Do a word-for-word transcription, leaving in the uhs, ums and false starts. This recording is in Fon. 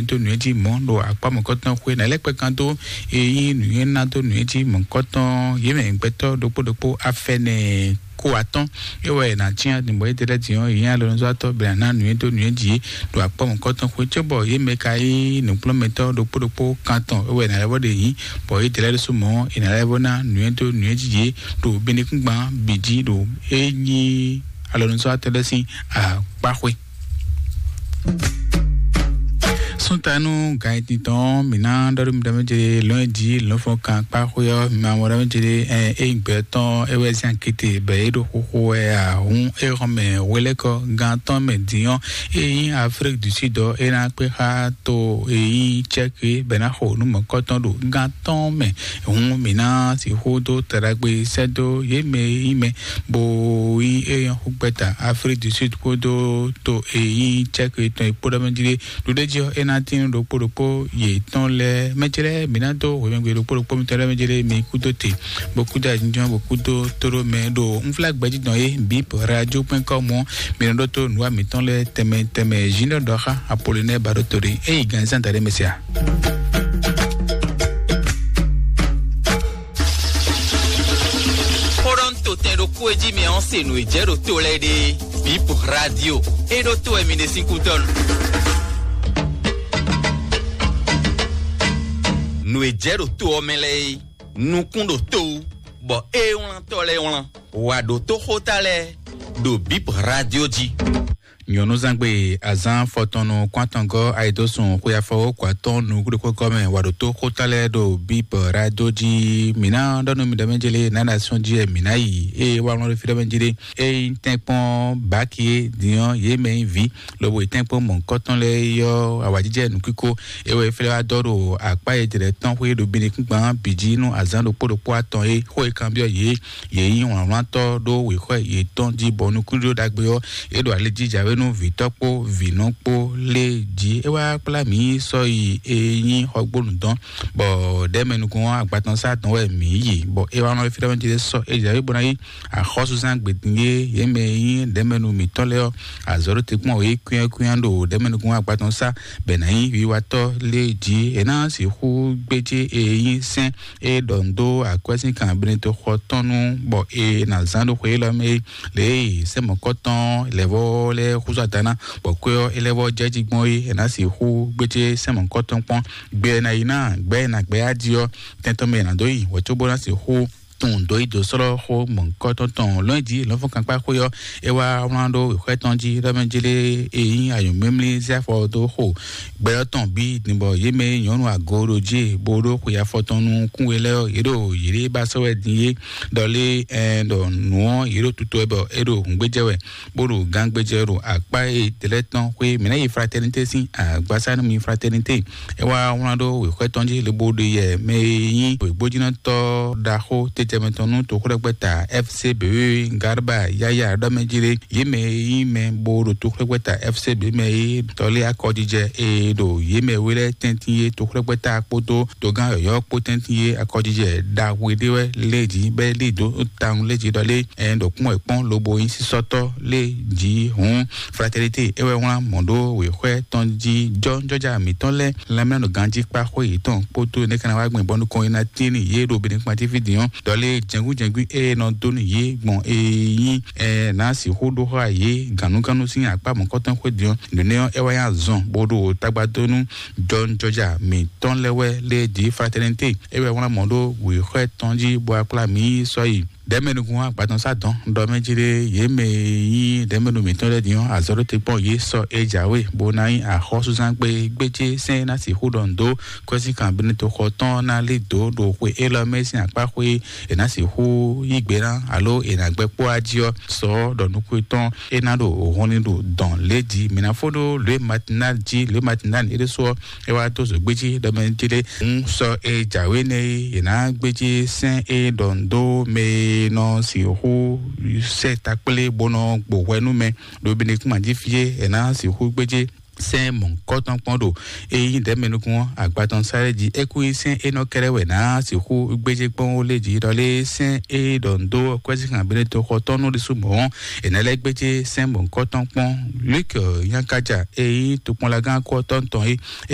dó nǔ e jí mɔ̌ ɖo akpá mɔ̌kɔtɔn xwé ná lɛ́ kpɛkan dó e nyí nǔnywɛ́ ná dó nǔ e jí mɔ̌kɔtɔn yě mɛ gbɛtɔ́ ɖokpó ɖokpó afɛnɛ kó atɔ́n. É wɛ è nǎ cyán din bɔ yědɛɛ lɛ́ɛ din ɔ́, yě nyí alɔnuzɔ́watɔ́ bɔ è nǎ ná nǔnywɛ́ dó nǔnywɛ́ jí yě ɖo akpá mɔ̌kɔtɔn xwé cóbɔ yě mɛ ka nyí nǔkplɔ́nmɛtɔ́ ɖokpó ɖokpó kantɔn é wɛ è nǎ lɛ́ vɔ ɖe yǐ, bɔ yědɛɛ lɛ́ɛ ɖésú mɔ̌ è nǎ lɛ́ vɔ ná nǔnywɛ́ dó nǔnywɛ́ jí yě ɖo binukúngban bǐ jí ɖo é nyí alɔnuzɔ́watɔ́ lɛ́ɛ sín akpá xwé. Súntanu gǎnyitin tɔn mǐ ná ɖɔ ɖó mi ɖɔ mɛ jɛ lɔn jí lɔn fɔn kan kpá xwé ɔ́, mi ma mɔ ɖɔ mɛ jɛ ɛ é gbɛ tɔn é wɛ zan kété bɛ é ɖo xóxó wɛ ǎ. Hǔn é xɔn mɛ hwelɛ́kɔ gán tɔn mɛ din ɔ́, é nyí Afrique du Sud ɔ́, é ná kpé xá to é nyí Tchèque bɛ ná xo nǔ mɔ̌kɔtɔn ɖo gán tɔn mɛ. Hǔn mǐ ná sixú dó taɖagbe sɛ́ dó yě mɛ e nyí mɛ bó nyí é nyɔ́ xú gbɛ́ta Afrique du Sud kpódó to e nyí Tchèque tɔn e kpó ɖɔ mɛ jí ɖé. Ɖuɖéjí ɔ́, é ná tín ɖokpó ɖokpó yětɔn lɛ́ɛ. Mɛ ce lɛ́ɛ, mǐ ná dó hwemɛgbe ɖokpó ɖokpó mitɔn lɛ́ɛ mɛ ce lɛ́ɛ, mi kúdó te, bó kúdó ayǐjínjɔ́n, bó kúdó tóɖó mɛ ɖo unflágbɛ́ jí dɔn é bǐ radio point com ɔ́, mi nɔ ɖótó nǔwa mǐtɔn lɛ́ɛ tɛnmɛ tɛnmɛ. Junior Dɔxa Apollinaire Baɖótoɖé, é yi gǎnzán daɖé mɛ se a? Xó ɖɔ un to tɛn ɖokpó e jí mi ɔ́ se nǔ e jɛ ɖo to lɛ́ɛ ɖe. Bip Radio, é ɖó to wɛ mi ɖe sín kútɔ́ nu. Nǔ e jɛ ɖo to ɔ́ mɛ lɛ́ɛ é, nukún ɖo to wú, bɔ é wlán tɔ́ lɛ́ɛ wlán. Wǎ ɖó tó xóta lɛ́ɛ ɖo Bip Radio jí. Nyɔ̌nuzangbe azán fɔtɔnnu kɔn atɔngɔ́ ayidosùn xwe afɔwó kɔ atɔn nukúɖokpókɔ mɛ wǎ ɖó tó xóta lɛ́ɛ ɖo Bip Radio jí. Mǐ ná ɖɔ nú mi ɖɔ mɛ jélé nǎ ɖo asɔ́n jí wɛ mǐ ná yi. Ée wá wlɔ́n ɖó fí ɖɔ mɛ jélé, ée nyí tɛ́nkpɔ́n bǎki é din ɔ́, yě mɛ nyí vǐ, lobo yi tɛ́nkpɔ́n mɔ̌hunkɔtɔn lɛ́ɛ yi ɔ́, awǎjijɛ nǔkíko é wɛ é flɛ́ wá dɔ́ ɖo akpá e jlɛ̌ tɔn xwé ɖo binukúngban bǐ jí nú azǎn ɖokpó ɖokpó atɔn é. Xó e kanbyɔ́ yě, yě nyí wlǎnwlántɔ́ ɖó wěxwɛ́ yětɔn jí, bɔ nukúnɖíɖó ɖagbe ɔ́, é ɖo ali jí jǎwe nú vǐtɔ́ kpó vǐnɔ kpó lé jí. É wá kplá mǐ sɔ́ yi e nyí xɔgbónu dɔn, bɔ ɖɛ̌mɛ nukún ɔ́ agbatɔnsá dɔn wɛ mǐ yi, bɔ é wá nɔ fí ɖɔ mɛ jí sɔ́ é jǎwe bó ná yí axɔ́súzán gbedín e yě mɛ e nyí ɖɛ̌mɛnu mǐtɔn lɛ́ɛ ɔ́, azɔ̌ ɖó te kpɔ́n wě kwíán kwíán ɖo ɖɛ̌mɛnukún agbatɔn sá, bɔ è nǎ nyí wiwatɔ́ lé jí. È nǎ sixú gbéjé e nyí sɛ́n e ɖɔ nǔ dó akwɛ́ sín kan Benedikto xɔ tɔn nu, bɔ è nǎ zán ɖó xwe élɔ́ mɛ é. Lě e sɛ́n mɔ̌kɔtɔn lɛ̌vɔ́ lɛ́ɛ húzú ada ná, bɔ kwɛ́ ɔ́ é lɛ́ vɔ́ jɛ jí gbɔn é, è nǎ sixú gbéjé sɛ́n mɔ̌kɔtɔn kpɔ́n. Gbɛ è nǎ yi ná, gbɛ è nǎ gbɛ á jí ɔ́, tɛn tɔn mɛ è nǎ dó yi wɛ cóbó ná sixú tunwun dǒ yi dǒ slɔ́ xó mɔ̌hunkɔtɔn tɔn lɔ̌nyijǐ lɔ̌nfɔ́nkankpá xwé ɔ́, é wá wlán ɖó wěxwɛ́ tɔn jí ɖɔ mɛ jlé e nyí anyǔmlímlí zé afɔ dó xo gbɛɖɔ́ tɔn bǐ din, bɔ yě mɛ e nyɔ̌nu ago ɖo jí bó ɖó xwe afɔ tɔn nú kún we lɛ́ɛ ɔ́, yě ɖo yěɖée ba sɔ́ wɛ din é. Ɖɔ lé ɛn ɖɔ nǔ ɔ́, yě ɖo tutu wɛ bɔ é ɖo hǔngbéjɛ wɛ, bó ɖo gángbéjɛ ɖo akpá e dlɛ́ tɔn xwé mǐ ná yi fraternité sín agbasá nú mi fraternité. É wá wlán ɖó wěxwɛ́ tɔn jí lobo ɖe yɛ mɛ e nyí wěgbójínɔtɔ́ ɖaxó tejɛmɛ tɔn nú toxwlɛ́gbɛ́ta F C B Garba Yaya ɖɔ mɛ jí ɖé. Yě mɛ e nyí mɛ bó ɖo toxwlɛ́gbɛ́ta F C B mɛ é tɔlé akɔjijɛ e ɖo yě mɛ we lɛ́ɛ tɛ́ntin é toxwlɛ́gbɛ́ta kpódó togán yɔ̌yɔ́ kpó tɛ́ntin é akɔjijɛ ɖaxó ɖé wɛ lé jí bɛ́ lí dó tawun lé jí ɖɔ lé ɛn ɖo kpɔ́n wɛ kpɔ́n lobo nyí sísɔ́tɔ́ lé jí hǔn. Fraternité é wɛ wlán mɔ̌ ɖó wěxwɛ́ tɔn jí jɔ́jɔ́já mǐtɔn lɛ́ɛ lanmɛnɔ ganjí kpá xwé yětɔn kpódó nɛ́ ká ná wá gbɛn bɔ nukɔn e ná tín n'i yě ɖo Benɛkpati fí din ɔ́, ɖɔ lé jɛngbíjɛngbí e nɔ dó nú yě gbɔn e nyí ɛ ná sixú ɖó xá yě gǎnúgánú sín akpá mɔ̌kɔtɔn xwé din ɔ́, nǔnɛ́ ɔ́ é wá nyí azɔn bó ɖo tagba dó nú jɔ́jɔ́já mǐtɔn lɛ́ɛ wɛ lé jí fraternité é wɛ wlán mɔ̌ ɖó wěxwɛ́ tɔn jí bó wá kplá mǐ sɔ́ yi. Ɖɛ̌mɛnukún agbatɔnsá dɔn ɖɔ mɛ jí ɖé yě mɛ e nyí ɖɛ̌mɛnu mǐtɔn lɛ́ɛ din ɔ́, azɔ̌ ɖó te kpɔ́n yě sɔ́ é jǎwe, bó ná nyí axɔ́súzán gbe gbéjé sɛ́n é ná sixú ɖɔ nǔ dó kwɛ́síkan Benedikto xɔ tɔn ná lí dǒ ɖo xwe élɔ́ mɛ sín akpá xwé è nǎ sixú yí gbe ná alo è nǎ gbɛ́ kpó wá jí ɔ́, sɔ ɖɔ nukún tɔn é ná ɖo hɔnni ɖo dɔn lě jí. Mǐ ná fó ɖó lě matinal jí, lě matinal é ɖésú ɔ́, é wá dó zǒgbéjí ɖɔ mɛ jí ɖé. Ń sɔ é jǎwe nɛ́ é, è nǎ gbéjí sɛ́n é ɖɔ nǔ dó mɛ e nɔ sixú sɛ takplé bó nɔ gbo hwɛ nú mɛ ɖo Benɛkpati fí é, è nǎ sixú gbéjí sɛ́n mɔ̌hunkɔtɔn kpɔ́n ɖo é nyí ɖɛ̌mɛ nukún ɔ́ agbatɔnsá lɛ́ɛ jí. É kú nyí sɛ́n énɔ́ kɛ́ɖɛ́ wɛ è nǎ sixú gbéjí kpɔ́n ó lé jí ɖɔ lé sɛ́n é ɖɔ nǔ dó kwɛ́síkan Benedikto xɔ tɔn nú ɖésú mɔ̌ ɔ́, è nǎ lɛ́ gbéjí sɛ́n mɔ̌hunkɔtɔn kpɔ́n. Luc Nyankaja e nyí tokpɔnlagán kú ɔ́ tɔn tɔn é,